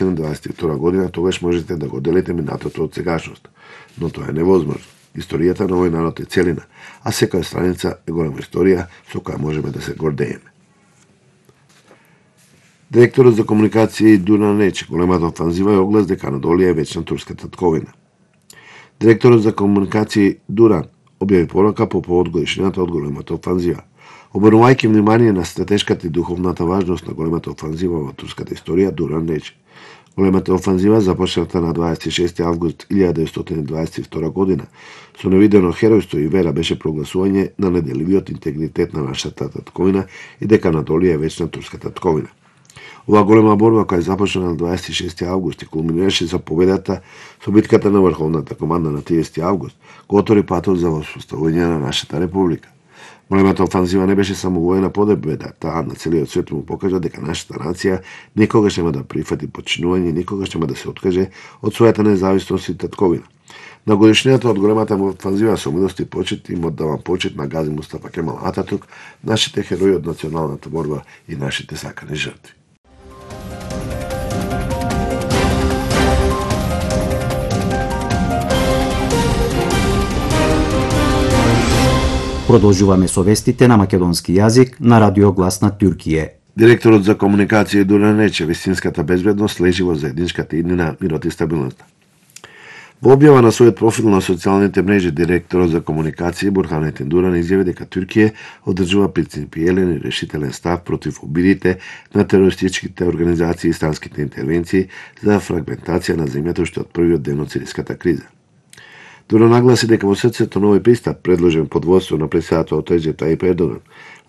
1922 година, тогаш можете да го делите минатото од сегашност. Но тоа е невозможно. Историјата на овој народ е целина, а секоја страница е голема историја со која можеме да се гордееме. Директорот за комуникација Дуран рече, големата офанзива е оглас дека Анадолија е вечна турска татковина. Директорот за комуникација Дуран објави порака по повод годишнината од големата офанзива. Обрнувајќи внимание на стратешката и духовната важност на големата офанзива во турската историја, Дуран рече, големата офанзива започната на 26 август 1922 година со невидено херојство и вера беше прогласување на неделивиот интегритет на нашата татковина и дека Анадолија е вечна турска татковина. Оваа голема борба која започна на 26 август и кулминираше со победата со битката на Врховната команда на 30 август, го отвори патот за воспоставување на нашата република. Големата офанзива не беше само воена победа, таа на целиот свет му покажа дека нашата нација никогаш нема да прифати подчинување, никогаш нема да се откаже од својата независност и татковина. На годишнината од големата офанзива со милост и почит им оддавам почит на Гази Мустафа Кемал Ататурк, нашите херои од националната борба и нашите сакани жртви. Продолжуваме со вестите на македонски јазик на Радио Глас на Туркија. Директорот за комуникација Дуран рече, вистинската безбедност лежи во заедничката иднина, мирот и стабилноста. Во објава на својот профил на социјалните мрежи, директорот за комуникација Бурханетин Дуран изјави дека Туркија одржува принципиелен и решителен став против обидите на терористичките организации и странските интервенции за фрагментација на земјата уште од првиот ден од сириската криза. Дуран нагласи дека во срцето на овој пристап, предложен под водство на претседателот Реджеп Тајип Ердоган,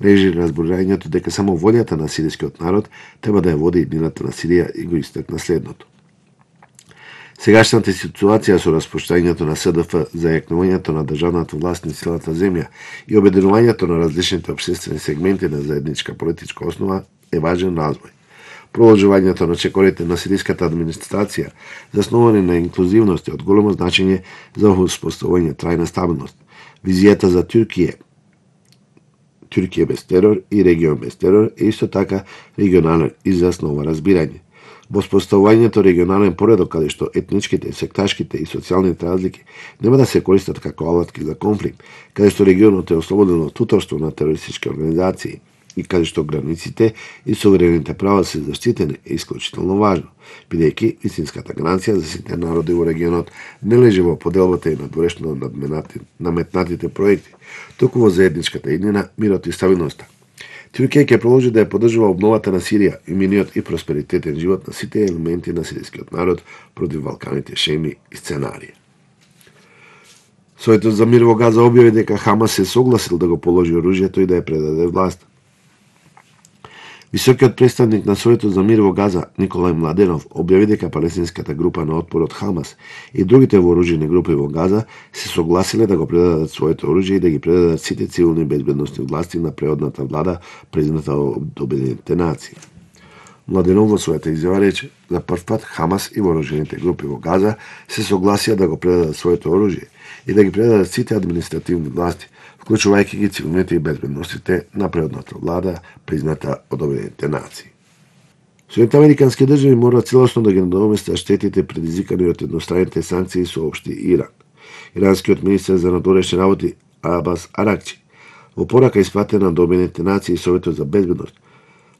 лежи разборањето дека само волјата на сирискиот народ треба да ја води иднината на Сирија и го истакна следното. Сегашната ситуација со распуштањето на СДФ, зајакнувањето на државната власт на целата земја и обединувањето на различните општествени сегменти на заедничка политичка основа е важен развој. Продолжувањето на чекорите на сириската администрација, заснувани на инклузивност, е од големо значење за успоставување трајна стабилност. Визијата за Туркија без терор и регион без терор е исто така регионален израз на ова разбирање. Воспоставувањето регионален поредок каде што етничките, секташките и социјалните разлики нема да се користат како алатки за конфликт, каде што регионот е ослободен од туторство на терористички организации и каде што границите и суверените права се заштитени е исклучително важно, бидејќи истинската гаранција за сите народи во регионот не лежи во поделбата и надворешно наметнатите проекти, туку во заедничката иднина, мирот и стабилноста. Туркија ќе продолжи да ја поддржува обновата на Сирија и миниот и просперитетен живот на сите елементи на сирискиот народ против валканите шеми и сценарии. Советот за мир во Газа објави дека Хамас се согласил да го положи оружјето и да ја предаде власт. Високиот представник на Советот за мир во Газа, Николај Младенов, објави дека палестинската група на отпор од Хамас и другите вооружени групи во Газа се согласиле да го предадат своето оружје и да ги предадат сите цивилни безбедносни власти на преодната влада, призната од Обединетите нации. Младенов во својата изјава рече, за прв пат Хамас и вооружените групи во Газа се согласија да го предадат своето оружје и да ги предадат сите административни власти, вклучувајќи ги цивилните и безбедностите на преодната влада, призната од Обединетите нации. Соединетите американски држави мора целосно да ги надоместат штетите предизвикани од едностранните санкции со општи Иран. Иранскиот министер за надворешни работи Абас Аракчи во порака испратена до Обединетите нации и Советот за безбедност,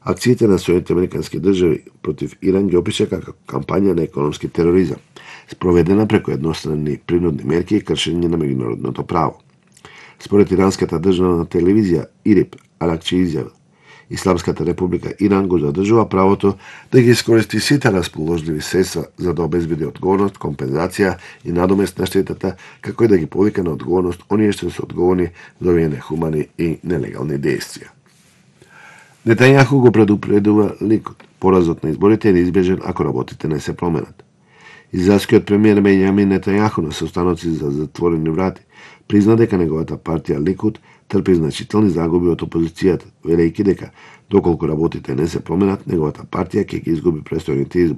акциите на Соединетите американски држави против Иран ги опиша како кампања на економски тероризам, спроведена преку едностранни принудни мерки и кршење на меѓународното право. Според иранската државна телевизија ИРИБ, Аракчи изјавил, Исламската република Иран го задржува правото да ги искористи сите расположливи средства за да обезбеди одговорност, компензација и надомест на штетата, како и да ги повика на одговорност оние што се одговорни за овие нехумани и нелегални дејствија. Нетањаху го предупредува Ликуд. Поразот на изборите е неизбежен ако работите не се променат. Израелскиот премиер Бенјамин Нетањаху на состаноци за затворени врати призна дека неговата партија Ликуд трпи значителни загуби од опозицијата, велејќи дека доколку работите не се променат, неговата партија ќе ги изгуби престојните избори.